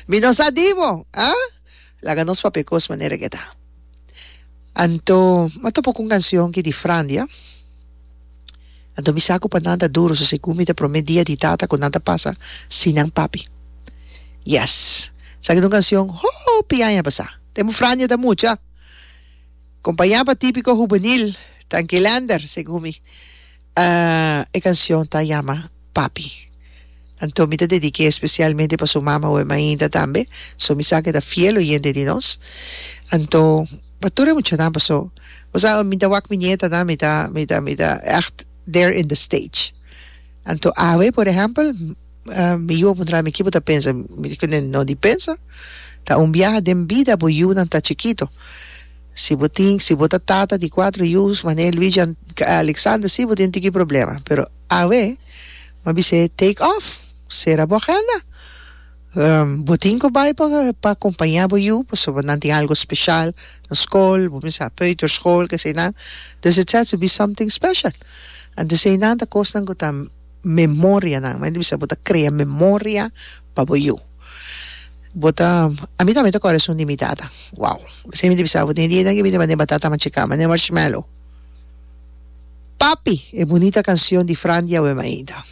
Mi no sa di bo, ah? Laga nos papia kos manera ke ta. Anto, mi a topa ku un kansion ki di Frandia. Anto mi sa ku pa nan ta duro, so segun mi ta prome dia di tata ku nan ta pasa sin nan papi. Yes. Esaki ta un kansion hopi aña pasá. Tempu Frandia ta mucha. Kompañá pa Típiko Hubenil, Tankilander, segun mi. E kansion ta yama Papi. Anto mi ta dedik'é espesialmente pa su mama Wema Inda tambe, so mi sa ku e ta fiel oyente di nos. Anto pa tur e muchanan paso bo sa mi ta wak mi nietanan mi ta mi ta mi ta ègt there in the stage. Anto awe por ehèmpel mi yu a puntra mi ki bo ta pensa? Mi di kuné no di pensa, ta un biaha den bida bo yunan ta chikito. Si bo tin, si bo ta tata di cuatro yu, manera Luigi Alexander, si bo tin tiki problema. Pero awe, mi a bis'é, take off, cera bo agenda. Bo tin cu bay pa pa acompaña bo yu, pasobra nan tin algo special na scol, bo mester sa peuterschool, keseinan. Dus it has to be something special. Anto eseinan ta cosnan cu ta memorianan. Mi ta bisa bo ta crea memoria pa bo yu. Bo ta, ami tambe ta kòrda esun di mi tata. Wow! Esei mi ta bisa bo, den dianan ke mi ta manda e batata machiká, manda e marshmallow. Papi! E bunita kansion di Fran di Awe Mainta.